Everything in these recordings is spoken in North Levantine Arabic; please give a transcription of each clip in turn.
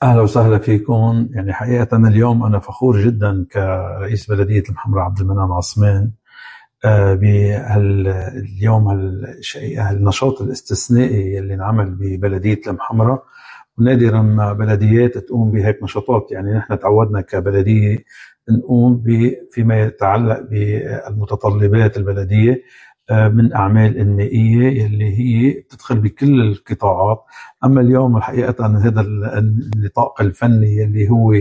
أهلا وسهلا فيكم. يعني حقيقة اليوم أنا فخور جدا كرئيس بلدية المحمرة عبد المنعم عثمان باليوم النشاط الاستثنائي اللي انعمل ببلدية المحمرة، ونادرا ما بلديات تقوم بهيك نشاطات. يعني نحن تعودنا كبلدية نقوم فيما يتعلق بالمتطلبات البلدية من أعمال إنمائية يلي هي تدخل بكل القطاعات. أما اليوم الحقيقة هذا النطاق الفني يلي هو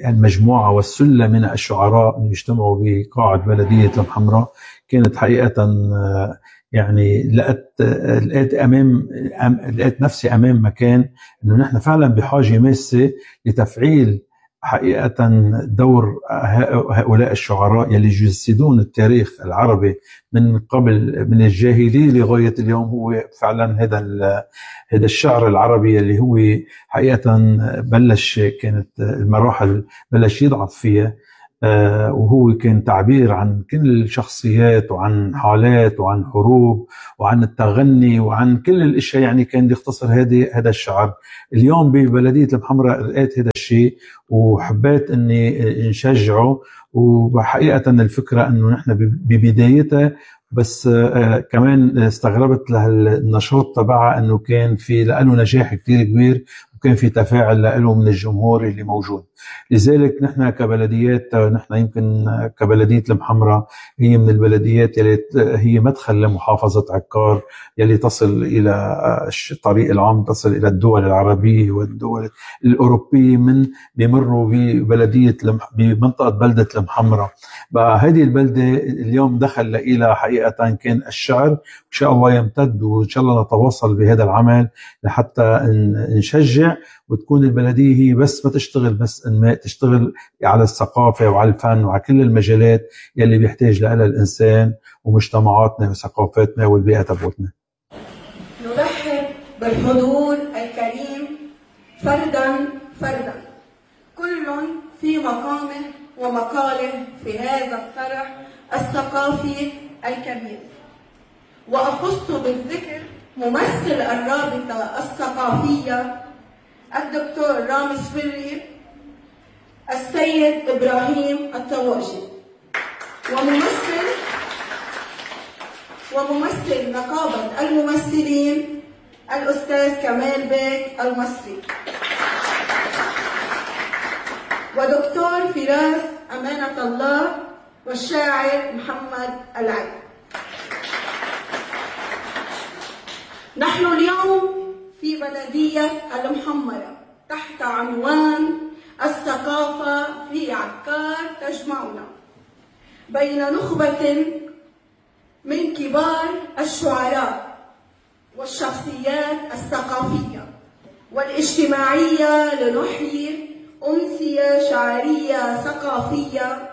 المجموعة والسلة من الشعراء اللي يجتمعوا بقاعة بلدية المحمرة، كانت حقيقة يعني لقيت نفسي أمام مكان إنه نحن فعلا بحاجة ماسة لتفعيل حقيقة دور هؤلاء الشعراء يلي يجسدون التاريخ العربي من قبل، من الجاهلية لغاية اليوم. هو فعلا هذا الشعر العربي اللي هو حقيقة كانت المراحل بلش يضعف فيها، وهو كان تعبير عن كل الشخصيات وعن حالات وعن حروب وعن التغني وعن كل الاشياء. يعني كان يختصر هذا الشعر. اليوم ببلدية المحمرة لقيت هذا الشيء وحبيت اني نشجعه. وحقيقة الفكرة انه نحن ببدايتها بس كمان استغربت للنشاط تبعها انه كان في له نجاح كتير كبير، وكان في تفاعل له من الجمهور اللي موجود. لذلك نحن كبلديات، نحن يمكن كبلدية المحمرة هي من البلديات يلي هي مدخل لمحافظة عكار يلي تصل إلى الطريق العام، تصل إلى الدول العربية والدول الأوروبية بيمروا بمنطقة بلدة المحمرة. بقى هذه البلدة اليوم دخل إلى حقيقة كان الشعر، إن شاء الله يمتد، وإن شاء الله نتواصل بهذا العمل لحتى نشجع وتكون البلدية هي بس ما تشتغل بس إنماء، تشتغل على الثقافة وعلى الفن وعلى كل المجالات يلي بيحتاج لها الإنسان ومجتمعاتنا وثقافتنا والبيئة تبعتنا. نرحب بالحضور الكريم فردا فردا، كل في مقامه ومقاله في هذا الفرح الثقافي الكبير. وأخص بالذكر ممثل الرابطة الثقافية الدكتور رامز فري، السيد إبراهيم الطواجي، وممثل نقابة الممثلين الأستاذ كمال بيك المصري، ودكتور فراس أمانة الله، والشاعر محمد العلي. نحن اليوم في بلدية المحمرة تحت عنوان الثقافة في عكار تجمعنا، بين نخبة من كبار الشعراء والشخصيات الثقافية والاجتماعية، لنحيي أمسية شعرية ثقافية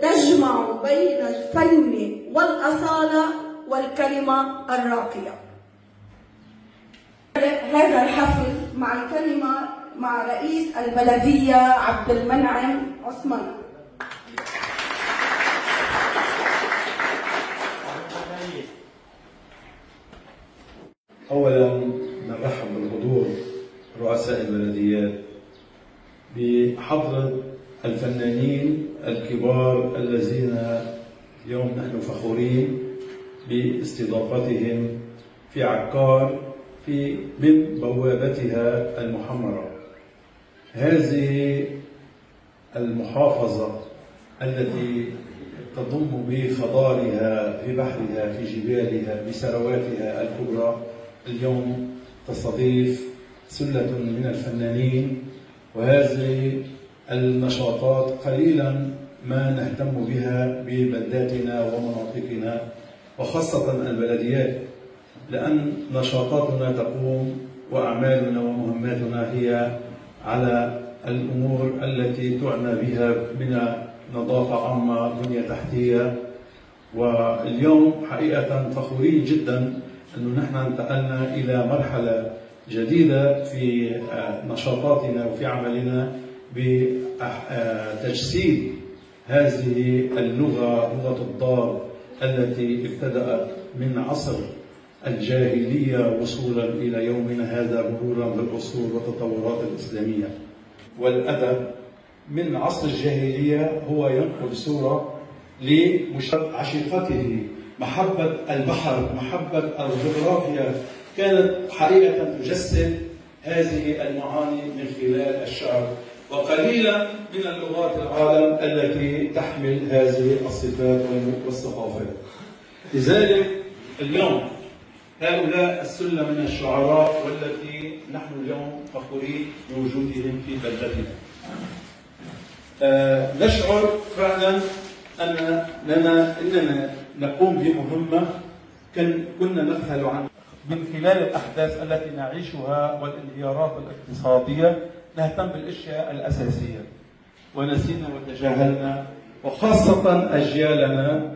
تجمع بين الفن والأصالة والكلمة الراقية. هذا الحفل مع الكلمة مع رئيس البلدية عبد المنعم عثمان. أولا نرحب بالحضور رؤساء البلديات بحضرة الفنانين الكبار الذين اليوم نحن فخورين باستضافتهم في عكار من بوابتها المحمرة. هذه المحافظة التي تضم بخضارها، في بحرها، في جبالها، بثرواتها الكبرى، اليوم تستضيف سلة من الفنانين. وهذه النشاطات قليلا ما نهتم بها ببلداتنا ومناطقنا وخاصة البلديات، لأن نشاطاتنا تقوم وأعمالنا ومهماتنا هي على الأمور التي تعنى بها من نظافة عامة، بنية تحتية. واليوم حقيقة فخورين جدا أنه نحن انتقلنا إلى مرحلة جديدة في نشاطاتنا وفي عملنا بتجسيد هذه اللغة، لغة الضاد التي ابتدأت من عصر الجاهلية وصولا إلى يومنا هذا مرورا بالعصور والتطورات الإسلامية. والأدب من عصر الجاهلية هو ينقل صورة لعشيقته، محبة البحر، محبة الجغرافيا، كانت حقيقة تجسد هذه المعاني من خلال الشعر. وقليلا من اللغات العالم التي تحمل هذه الصفات والثقافات. لذلك اليوم هؤلاء السلة من الشعراء والتي نحن اليوم فخورين بوجودهم في بلدتنا. نشعر فعلا أننا نقوم بمهمة كنا نبحث عنها من خلال الأحداث التي نعيشها والانهيارات الاقتصادية. نهتم بالأشياء الأساسية ونسينا وتجاهلنا، وخاصة أجيالنا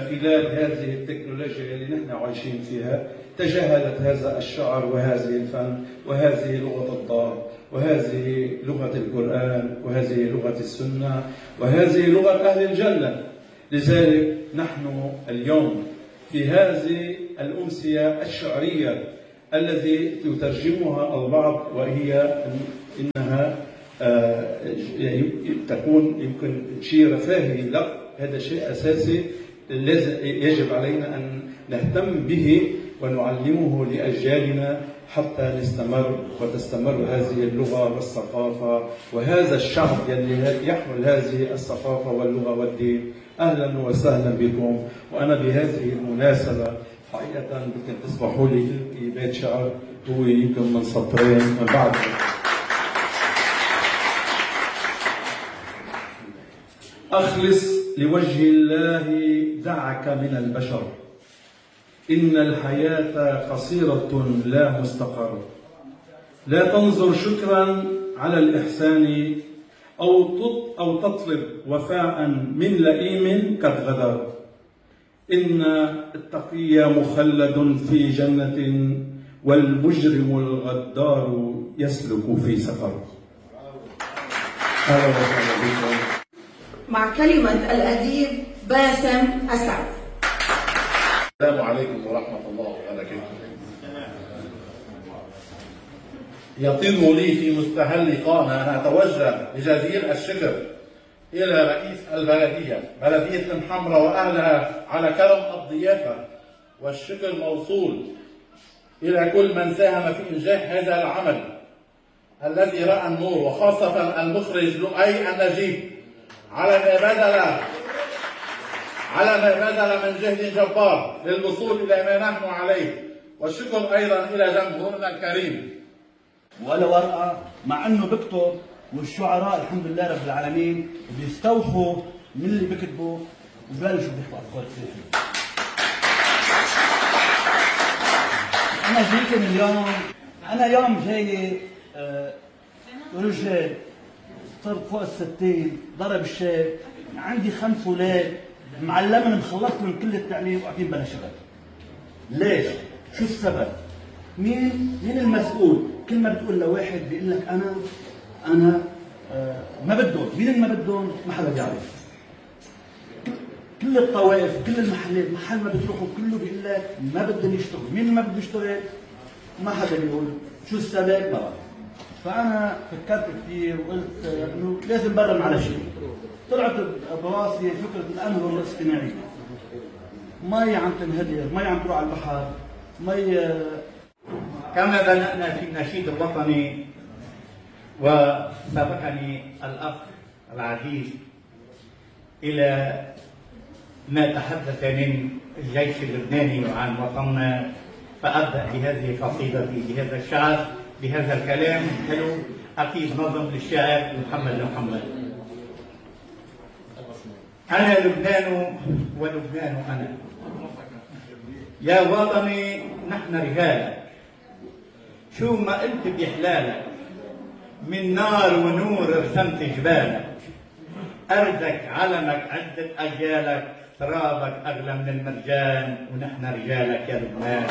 خلال هذه التكنولوجيا اللي نحن عايشين فيها تجاهلت هذا الشعر وهذه الفن وهذه لغة الضاد وهذه لغة القرآن وهذه لغة السنة وهذه لغة أهل الجنة. لذلك نحن اليوم في هذه الأمسية الشعرية الذي يترجمها البعض وهي إنها تكون يمكن شيء رفاهي، لا، هذا شيء أساسي يجب علينا أن نهتم به ونعلمه لأجيالنا حتى نستمر وتستمر هذه اللغة والثقافة وهذا الشعب الذي يحمل هذه الثقافة واللغة والدين. أهلا وسهلا بكم. وأنا بهذه المناسبة حقيقة يمكن تسمحوا لي بيت شعر هو يمكن من سطرين من بعد. أخلص لوجه الله دعك من البشر، إن الحياة قصيرة لا مستقر. لا تنظر شكرا على الإحسان أو تطلب وفاء من لئيم قد غدر. إن التقي مخلد في جنة والمجرم الغدار يسلك في سفر. أهلا وسهلا بكم. مع كلمة الأديب باسم أسعد. السلام عليكم ورحمة الله وبركاته. يطيب لي في مستهل لقائنا أن أتوجه بجزيل الشكر إلى رئيس البلدية، بلدية المحمرة وأهلها، على كرم الضيافة، والشكر موصول إلى كل من ساهم في إنجاح هذا العمل الذي رأى النور، وخاصة المخرج لؤي النجيب على ما بذل من جهد جبار للوصول إلى ما نحن عليه. والشكر أيضا إلى جمهورنا الكريم. ولا ورقة، مع أنه بكتب، والشعراء الحمد لله رب العالمين بيستوحوا من اللي بكتبوا وببلشوا بيحكوا أفكار كثيرة. أنا جيت اليوم، أنا يوم جاي رجال صرت فوق الستين، ضرب الشاب، عندي 5 أولاد، معلمهم مخلصتهم كل التعليم وقاعدين بلا شغل. ليش؟ شو السبب؟ مين المسؤول؟ كل ما بتقول لواحد بيقول لك أنا ما بدهم، مين اللي ما بدهم؟ ما حدا بيعرف. كل الطوائف، كل المحلات، محل ما بتروحوا كله بيقول لك ما بدهم يشتغلوا، مين ما بده يشتغل؟ ما حدا بيقول. شو السبب؟ ما بعرف. فأنا فكرت كثير وقلت إنه لازم برم على شيء. طلعت براسي فكرة الأنظمة الاصطناعية. مي عم تنهدر، مي عم تروح على البحر، مي. كما بدأنا في النشيد الوطني وسبقني الأخ العزيز إلى ما تحدث من الجيش اللبناني وعن وطننا، فأبدأ بهذه قصيدتي بهذا الشعر بهذا الكلام حلو أكيد نظم للشاعر محمد. أنا لبنان ولبنان أنا، يا وطني نحن رجالك، شو ما قلت بيحلالك، من نار ونور رسمت جبالك، أرزك علمك عدة أجيالك، ترابك أغلى من المرجان، ونحن رجالك يا لبنان.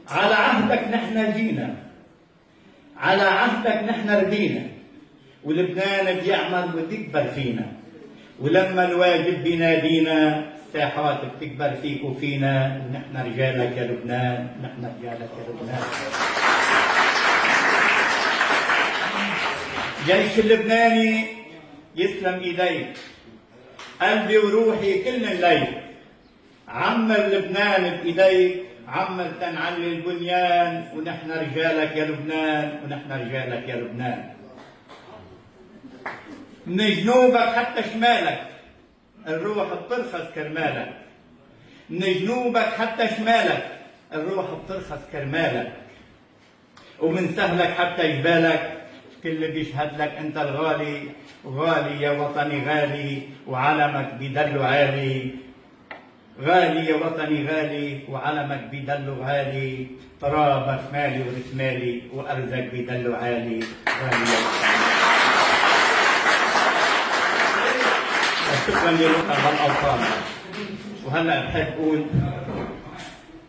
على عهدك نحن جينا، على عهدك نحن ردينا، ولبنان بيعمل وبيكبر فينا، ولما الواجب بينادينا الساحات بتكبر فيك وفينا، ونحن رجالك يا لبنان، نحن رجالك يا لبنان. جيش اللبناني يسلم ايديك، قلبي وروحي كل الليل، عمر لبنان بايديك، عمر تنعلي البنيان، ونحن رجالك يا لبنان، ونحن رجالك يا لبنان. من جنوبك حتى شمالك الروح بترخص كرمالك، من جنوبك حتى شمالك الروح بترخص كرمالك، ومن سهلك حتى جبالك كل بيشهد لك انت الغالي، غالي يا وطني غالي، وعلمك بيدلو عالي، غالي يا وطني غالي، وعلمك بيدلو عالي، ترابك مالي ورسمالي، وارزك بيدلو عالي، غالي يا وطني. شكرا لكم هالاوطان. وهلا بحب اقول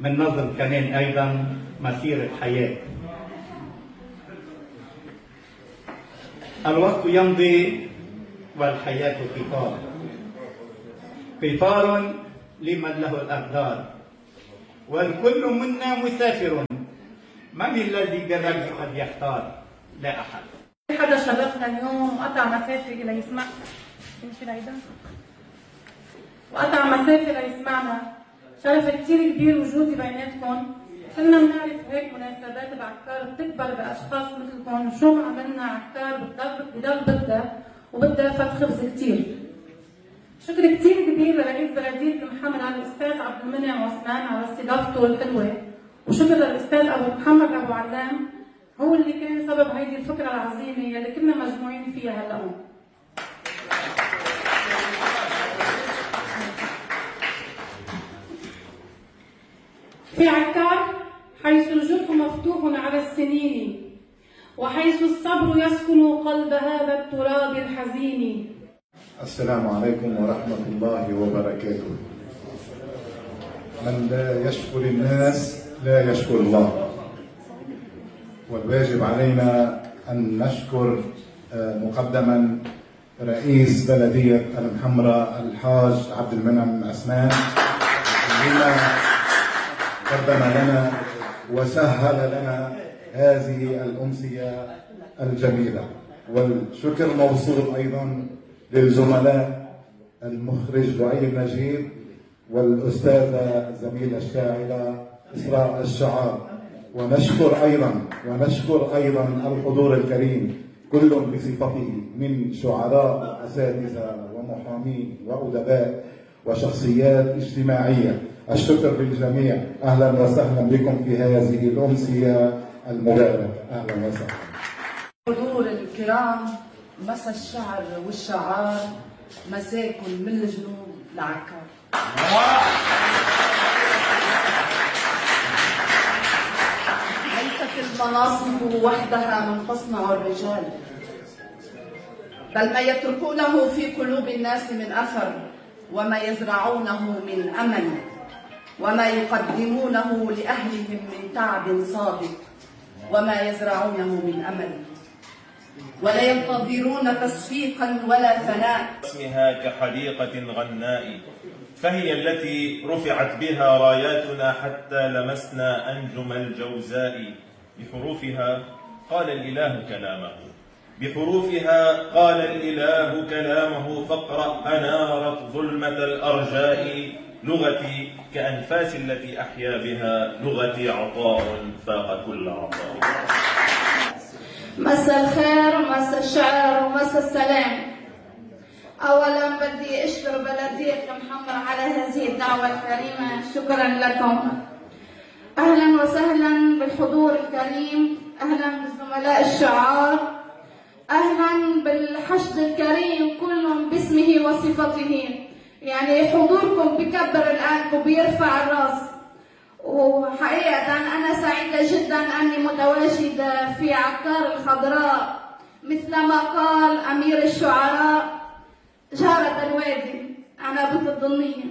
من نظم كمان ايضا مسيره حياه. الوقت يمضي والحياه قطار، قطار لمن له الاقدار، والكل منا مسافر، من الذي بالرجل قد يختار؟ لا احد. حدا شرفنا اليوم وقطع مسافه ليسمع، مش العيدان، وقطع مسافه ليسمعنا. شرف كثير كبير وجودي بيناتكم. كنا بنعرف هيك مناسبات بعكار بتكبر باشخاص مثلكم، شو ما عملنا عكار بضل بدها وبدها فت خبز كثير. شكر كثير كبير لرئيس بلديه المحمرة الاستاذ عبد المنعم عثمان على استضافته الحلوه، وشكر للاستاذ ابو محمد ابو علام، هو اللي كان سبب هيدي الفكره العظيمه يلي كنا مجموعين فيها هلا. في عكار حيث الجرح مفتوح على السنين، وحيث الصبر يسكن قلب هذا التراب الحزين. السلام عليكم ورحمة الله وبركاته. من لا يشكر الناس لا يشكر الله، والواجب علينا أن نشكر مقدما رئيس بلدية المحمرة الحاج عبد المنعم عثمان بما قدم لنا وسهل لنا هذه الأمسية الجميلة. والشكر موصول أيضا للزملاء المخرج لؤي النجيب والأستاذة الزميلة الشاعرة إسراء الشعار. ونشكر أيضا الحضور الكريم كل بصفته من شعراء وأساتذة ومحامين وأدباء وشخصيات اجتماعية. الشكر للجميع. أهلا وسهلا بكم في هذه الأمسية المباركة. أهلا وسهلا. حضور الكرام، مسا الشعر والشعار، مساكن من الجنوب لعكار. ليست المناصب وحدها من تصنع الرجال، بل ما يتركونه في قلوب الناس من أثر، وما يزرعونه من أمل، وما يقدمونه لأهلهم من تعب صادق، وما يزرعونه من أمل، ولا ينتظرون تصفيقا ولا ثناء. اسمها كحديقة غناء، فهي التي رفعت بها راياتنا حتى لمسنا أنجم الجوزاء. بحروفها قال الإله كلامه، بحروفها قال الإله كلامه، فاقرأ أنارت ظلمة الأرجاء. لغتي كأنفاس التي أحيا بها، لغتي عطاء فاق كل عطاء. مساء الخير ومساء الشعر ومساء السلام. أولا بدي أشكر بلدية المحمرة على هذه الدعوة الكريمة، شكرا لكم. أهلا وسهلا بالحضور الكريم، أهلا بالزملاء الشعار، أهلا بالحشد الكريم كلهم باسمه وصفته. يعني حضوركم بكبر القلب وبيرفع الراس، وحقيقة أنا سعيدة جدا أني متواجدة في عكار الخضراء، مثلما قال أمير الشعراء جارة الوادي عنابة الضنية.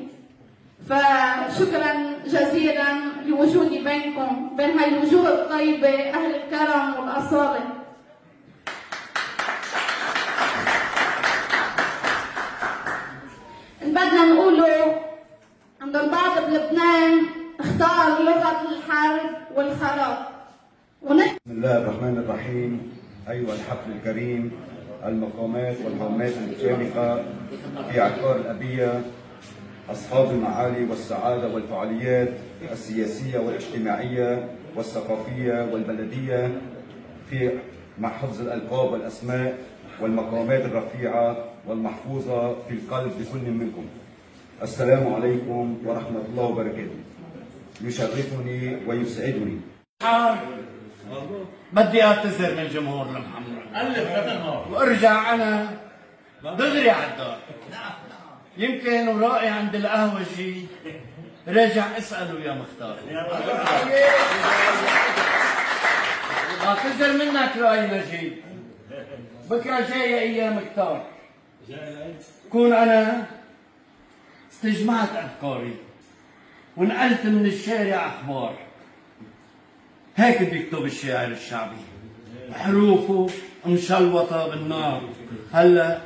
فشكرا جزيلا لوجودي بينكم، بين هاي الوجوه الطيبة أهل الكرم والأصالة. البعض بلبنان اختار لغة الحرب والخراب. بسم الله الرحمن الرحيم. أيها الحفل الكريم، المقامات والهامات المشاركة في عقار الأبية، أصحاب المعالي والسعادة والفعاليات السياسية والاجتماعية والثقافية والبلدية في مع حفظ الألقاب والأسماء والمقامات الرفيعة والمحفوظة في القلب لكل منكم. السلام عليكم ورحمة الله وبركاته. يشرفني ويسعدني. بدي اعتذر من الجمهور المحمر وارجع انا دغري على الدار. يمكن ورائي عند القهوجي راجع اساله يا مختار. اعتذر منك رأي نجيب. بكره جايه ايام كتار، كون انا استجمعت افكاري ونقلت من الشارع اخبار. هيك بيكتب الشاعر الشعبي، حروفه مشلوطه بالنار. هلا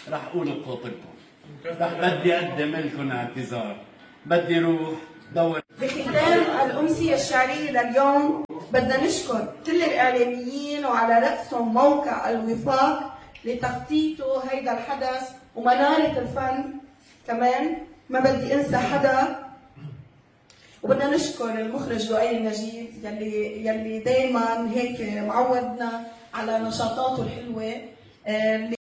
رح اقول بخاطركم، رح بدي اقدم لكم اعتذار. بدي روح دور. بختام الأمسية الشعرية لليوم بدنا نشكر كل الإعلاميين وعلى رأسهم موقع الوفاق لتخطيطه هيدا الحدث ومنارة الفن كمان. ما بدي انسى حدا. وبدنا نشكر المخرج لؤي النجيب يلي دايما هيك معودنا على نشاطاته الحلوة.